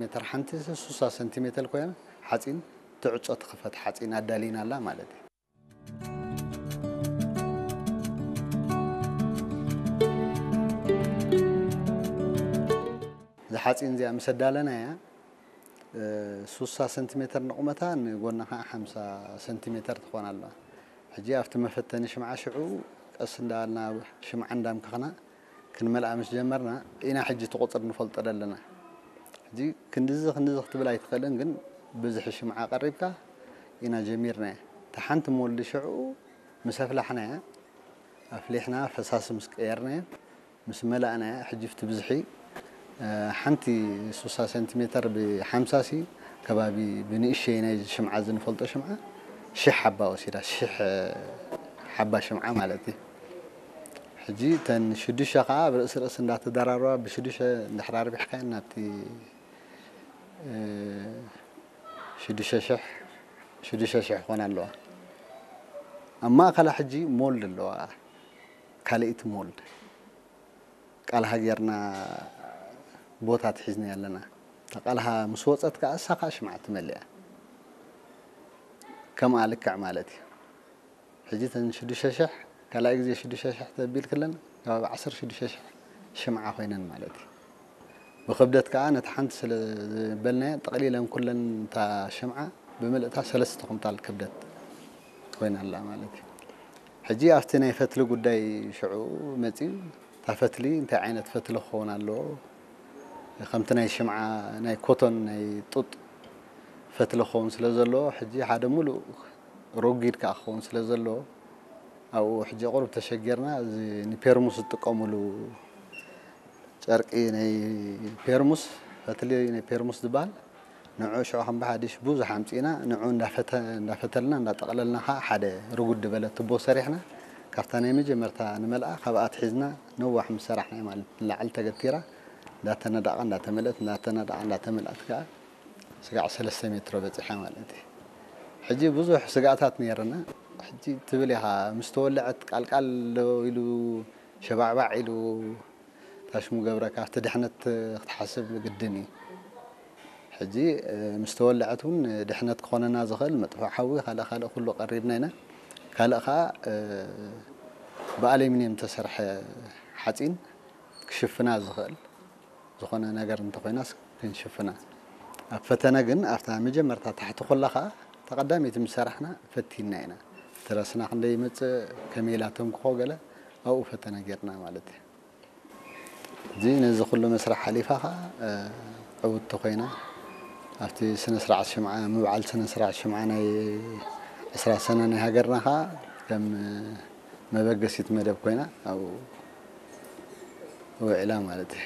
ሜትር ሓንቲ ሱሳ ሰንቲሜትር ኮይና ሓፂን ትዕፆ ትኽፈት ሓፂን ኣዳሊና ኣላ ማለት እዩ። እዛ ሓፂን እዚኣ ምስ ኣዳለናያ ሱሳ ሰንቲሜትር ንቑመታ ንጎና ከዓ ሓምሳ ሰንቲሜትር ትኾን ኣለዋ። ሕጂ ኣብቲ መፈተኒ ሽምዓ ሽዑ ቀስ እንዳበልና ሽምዓ እንዳምከኽና ክንመልኣ ምስ ጀመርና ኢና ሕጂ እቲ ቁፅሪ ንፈልጦ ዘለና። ሕጂ ክንድዚ ክንድዚ ክትብል ኣይትኽእልን፣ ግን ብዝሒ ሽምዓ ቀሪብካ ኢና ጀሚርናያ። እታ ሓንቲ ሞልዲ ሽዑ ምስ ኣፍላሕናያ ኣፍሊሕና ፈሳሲ ምስ ቀየርናያ ምስ መላእናያ ሕጂ ብቲ ብዝሒ ሓንቲ ሱሳ ሰንቲሜተር ብሓምሳ ሲ ከባቢ ብንእሸይ ናይ ሽምዓ ዝንፈልጦ ሽምዓ ሽሕ ሓባ ወሲዳ ሽሕ ሓባ ሽምዓ ማለት እዩ። ሕጂ ተን ሽዱሽተ ከዓ ኣብ ርእሲ ርእሲ እንዳተደራረባ ብሽዱሽተ እንድሕር ኣርቢሕካየን ናብቲ ሽዱሽተ ሽሕ ሽዱሽተ ሽሕ ክኾና ኣለዋ። ኣብ ማእኸላ ሕጂ ሞልድ ኣለዋ። ካልኣይቲ ሞልድ ቃልሃ ጌርና ቦታ ትሒዝና ኣለና። እታ ቃልሃ ምስ ወፀት ከዓ እሳ ከዓ ሽምዓ ትመልእ እያ። ከምኣ ልክዕ ማለት እዩ። ሕጂ ተን ሽዱሽተ ሽሕ ካልኣይ ግዜ ሽዱሽተ ሽሕ ተቢል ክለን ከባቢ ዓሰርተ ሽዱሽተ ሽሕ ሽምዓ ኮይነን ማለት እዩ። ብክብደት ከዓ ነቲ ሓንቲ ስለ ዝበልናያ ጠቕሊለን ኩለን እታ ሽምዓ ብምልእታ ሰለስተ ኩንታል ክብደት ኮይና ኣላ ማለት እዩ። ሕጂ ኣብቲ ናይ ፈትሊ ጉዳይ ሽዑ መፅዩ እታ ፈትሊ እንታይ ዓይነት ፈትሊ ክኸውን ኣለዎ ከምቲ ናይ ሽምዓ ናይ ኮቶን ናይ ጡጥ ፈትሊ ክኸውን ስለ ዘለዎ ሕጂ ሓደ ሙሉእ ረጒድ ከዓ ክኸውን ስለ ዘለዎ ኣብኡ ሕጂ ቁሩብ ተሸጊርና እዚ ንፔርሙስ ዝጥቀሙሉ ጨርቂ ናይ ፔርሙስ ፈትሊ ናይ ፔርሙስ ዝበሃል ንዑ ሽዑ ከም ብሓዲሽ ብዙሕ ኣምፂእና ንዑ እንዳፈተ- እንዳፈተልና እንዳጠቕለልና ከዓ ሓደ ርጉድ ዝበለ ትቦ ሰሪሕና ካብታ ናይ መጀመርታ ንመልኣ ካብኣ ትሒዝና ነዋሕ ምስ ሰራሕና ማለት ንላዕሊ ተገቲራ እንዳተነዳቐ እንዳተመልአት እንዳተነዳቐ እንዳተመልኣት ከዓ ስጋዕ ሰለስተ ሜትሮ በፂሓ ማለት እዩ። ሕጂ ብዙሕ ስጋኣታት ነይርና። ሕጂ ትብል ኢኻ ምስ ተወለዐት ቃልቃል ኢሉ ሸባዕባዕ ኢሉ ታሽሙ ገብረካ ኣብቲ ድሕነት ክትሓስብ ግድን እዩ። ሕጂ ምስ ተወለዐት እውን ድሕነት ክኾነና ዝኽእል መጥፍኦ ሓዊ ካልእ ካልእ ኩሉ ቀሪብና ኢና። ካልእ ከዓ ብኣሌሚንየም ተሰርሐ ሓፂን ክሽፍና ዝኽእል ዝኾነ ነገር እንተኾይናስ ክንሽፍና ኣብ ፈተነ ግን ኣብታ መጀመርታ ታሕቲ ኮላ ከዓ ተቐዳሚት ምስ ሰራሕና ፈቲንና ኢና። ትረስና ክንደይ ይመፅእ ከመይ ኢላ ተምክኾ ገለ ኣብኡ ፈተነ ጌርና ማለት እዩ። እዚ ነዚ ኩሉ መስርሕ ሓሊፋ ከዓ ዕውትቲ ኮይና ኣብቲ ስነ ስርዓት ሽምዓ ምብዓል ስነ ስርዓት ሽምዓ ናይ ዕስራ ሰነ ናይ ሃገርና ከዓ ከም መበገሲት መደብ ኮይና ኣብኡ ውዒላ ማለት እዩ።